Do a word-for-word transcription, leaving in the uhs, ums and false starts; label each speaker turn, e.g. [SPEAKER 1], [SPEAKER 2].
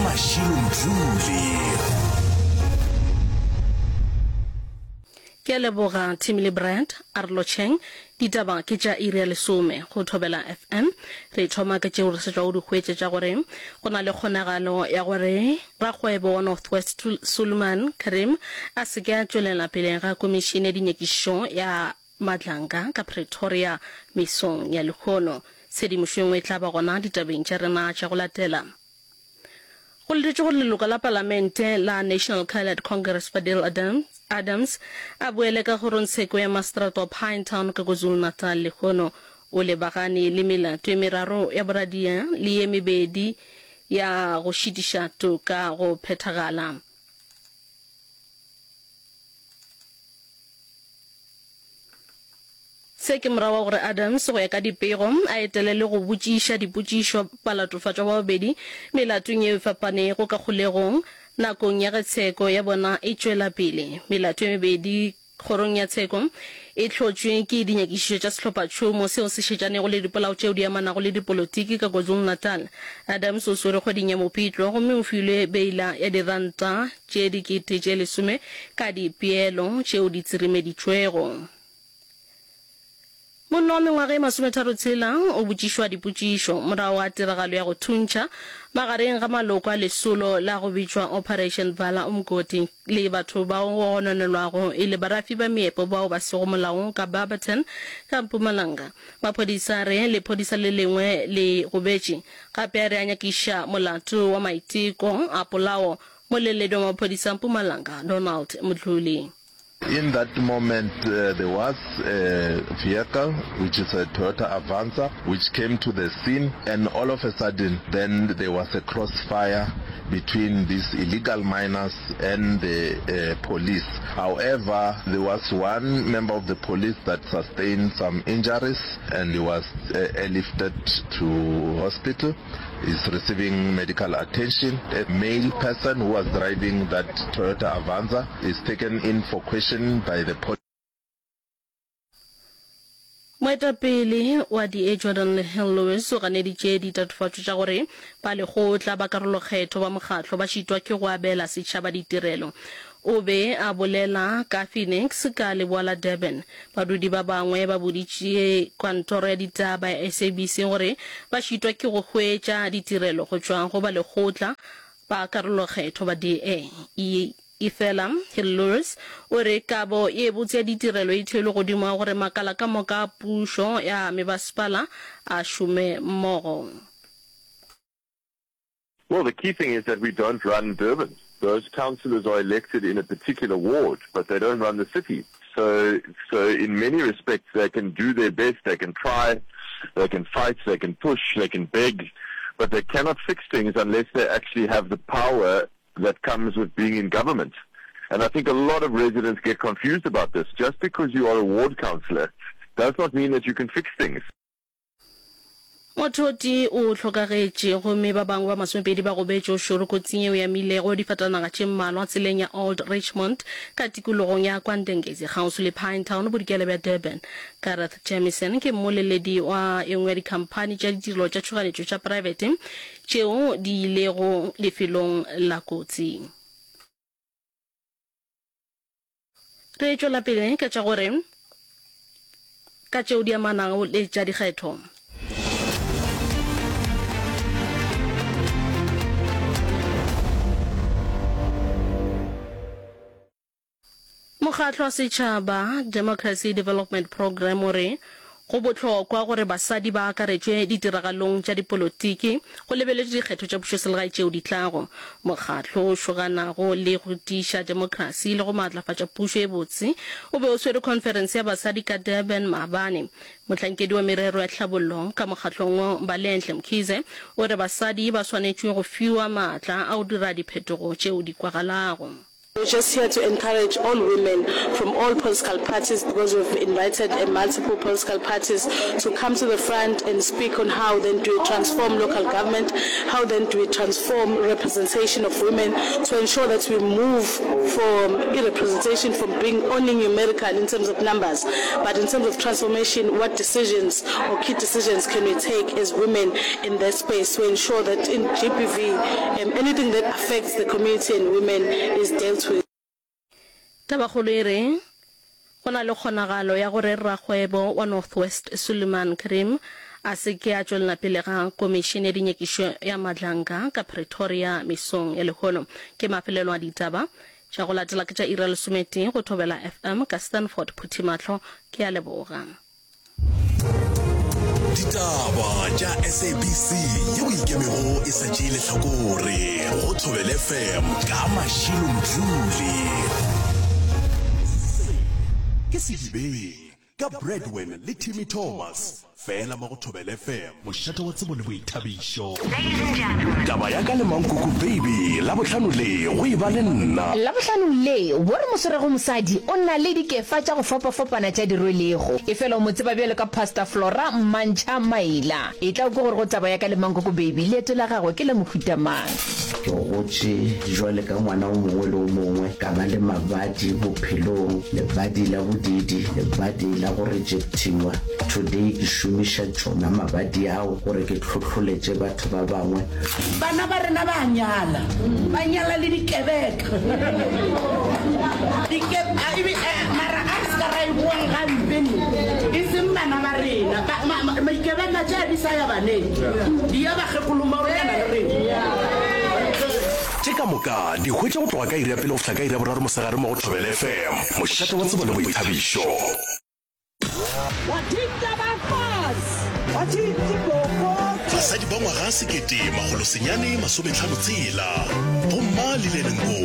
[SPEAKER 1] Mashilo Mdluli.
[SPEAKER 2] Ke a leboga Tim le Brad. A re lotšheng. Ditaba ke tša iri ya lesome go Thobela F M. Re thoma ka tšeo re sa tšwago di hwetša tša gore go na le kgonagalo ya gore rakgwebo wa North West Suleiman Karim a se ke a tšwelela pele ga komišene ya dinyakišišo ya Madlanga ka Pretoria mesong ya lehono. Tshedimošo e nngwe e tla ba gona ditabeng tša rena tša go latela. Go letetšwe gore leloko la palamente la National Coloured Congress Fadil Adams a boele ka kgorongtsheko ya maseterata wa Pinetown ka KwaZulu-Natal lehono. O lebagane le melato e meraro ya boradia le ye mebedi ya go šitiša toka go phethagala. Se ke morago ga gore Adams, go ya ka dipego, a etele le go botšiša dipotšišo balatofatšwa ba babedi melatong yeo e fapanego ka kgolegong nakong ya ge tsheko ya bona e tšwela pele. Melato e mebedi kgorong ya tsheko e hlotšwe ke dinyakišišo tša sehlophatšhomo seo se šetšanego le dipolao tšeo di amanago le dipolotiki ka KwaZulu-Natal. Adams o swerwe kgweding ya Mopitlo gomme o filwe beila ya diranta tše dikete tše lesome ka dipeelo tšeo di tsirimeditšwego. Monna wa mengwaga e masometharo-tshela o botšišwa dipotšišo morago ga tiragalo ya go thuntšha magareng ga maloko a lesolo la go bitšwa Operation Vala Umgodi le batho bao go gononelwago e le barafi ba meepo bao ba sego molaong ka Barberton ka Mpumalanga. Maphodisa a re lephodisa le lengwe le gobetše gape a re a nyakiša molato wa maiteko a polao. Moleledi wa maphodisa a Mpumalanga Donald Mdluli.
[SPEAKER 3] In that moment uh, there was a vehicle, which is a Toyota Avanza, which came to the scene, and all of a sudden then there was a crossfire between these illegal miners and the uh, police. However, there was one member of the police that sustained some injuries and he was uh, airlifted to hospital. He's receiving medical attention. A male person who was driving that Toyota Avanza is taken in for question by the police.
[SPEAKER 2] Moetapele wa D A Geordin Hill-Lewis o ganeditše ditatofatšo tša gore balekgotla ba karolokgetho ba mokgatlo ba šitwa ke go abela setšhaba ditirelo. O be a bolela ka Phoenix ka leboa la Durban. Badudi ba bangwe ba boditše kantoro ya ditaba ya S A B C gore ba šitwa ke go hwetša ditirelo go tšwa go balekgotla ba karolokgetho ba D A. Efela Hill-Lewis o re kabo ye botse ya ditirelo e theilwe godimo ga gore makala ka moka a pušo ya mebasepala a šome mmogo.
[SPEAKER 4] Well, the key thing is that we don't run Durban. Those councillors are elected in a particular ward, but they don't run the city. So, so in many respects, they can do their best, they can try, they can fight, they can push, they can beg, but they cannot fix things unless they actually have the power that comes with being in government. And I think a lot of residents get confused about this. Just because you are a ward councillor does not mean that you can fix things.
[SPEAKER 2] Motho o tee o hlokagetše gomme ba bangwe ba masomepedi ba gobetše o šoro kotsing yeo e amilego difatanaga tše mmalwa tseleng ya Old Richmond ka tikologong ya KwaNdengezi kgauswi le Pinetown bodikela bja Durban. Gareth Jamieson ke mmoleledi wa e nngwe ya dikhamphani tša ditirelo tša tšhoganetšo tša praebete tšeo di ilego lefelong la kotsi. Re tšwela pele ka tša gore ka tšeo di amanago le tša dikgetho. Mokgatlo wa setšhaba, Democracy Development Programme, o re go bohlokwa gore basadi ba akaretšwe ditiragalong tša dipolotiki go lebeletšwe dikgetho tša pušoselegae tšeo di tlago. Mokgatlo o šoganago le go tiiša demokrasi le go maatlafatša pušo e botse o be o swere khonferense ya basadi ka Durban maabane. Mohlankedi wa merero ya tlhabollo ka mokgatlong wo, Mbalenhle Mkhize, o re basadi ba swanetšwe go fiwa maatla a go dira diphetogo tšeo di kwagalago.
[SPEAKER 5] We're just here to encourage all women from all political parties because we've invited uh, multiple political parties to come to the front and speak on how then do we transform local government, how then do we transform representation of women to ensure that we move from representation from being only numerical in terms of numbers, but in terms of transformation, what decisions or key decisions can we take as women in that space to ensure that in GBV, um, anything that affects the community and women is dealt with.
[SPEAKER 2] Tabakgolo e re go na le kgonagalo ya gore rakgwebo wa North West Suleiman Karim a se ke a tšwelela pele ga komišene ya dinyakišo ya Madlanga ka Pretoria mesong ya lehono. Ke mafelelo a ditaba tša go latela ke tša iri ya lesometee go Thobela FM ka Stanford Phuthimahlo. Ke a leboga.
[SPEAKER 1] Ditaba tša SABC yeo ikemego e sa tšee lehlakore go Thobela FM ka Mashilo Mdluli. Se ke Sedibeng ka Bradwin le Timmy Thomas fela mo go Thobela FM, mošate wa tsebo le boithabišo. Taba ya ka le Mankoko Baby Labohlano le go e ba le nna.
[SPEAKER 6] Labohlano le, wo re mo swerego mosadi o na le dikefa tša go fapafapana tša di rwelego. Efela o mo tseba bjalo ka Pastor Flora Mmantšha Maila. Etla o kwe gore go taba ya ka le Mankoko Baby leeto la gagwe ke la mohuta mang.
[SPEAKER 7] Ke gotše jwale ka ngwana o mongwe le o mongwe, ka ba le mabadi bophelong, lebadi la bodiidi, lebadi la go rejectiwa. Today ke šomiša tšona mabadi ao gore ke hlohloletše batho ba bangwe.
[SPEAKER 8] Bana ba rena ba a nyala, ba nyala le dikebeka. Dike, a, ebe, a, mara a re se ka ra e boang gampe ne, e seng bana ba rena. Ba, ma, ma, dikebeka tša di sa ya baneng, di ya bakgekolong ba go lekana le rena.
[SPEAKER 1] Tše ka moka di hwetša go tloga ka iri ya pele go fihla ka iri ya boraro mosegare mo go Thobela FM, mošate wa tsebo le boithabišo. Basadi ba ngwaga sekete makgolo senyane masometlhano tshela, Bomma Lillian Ngoyi.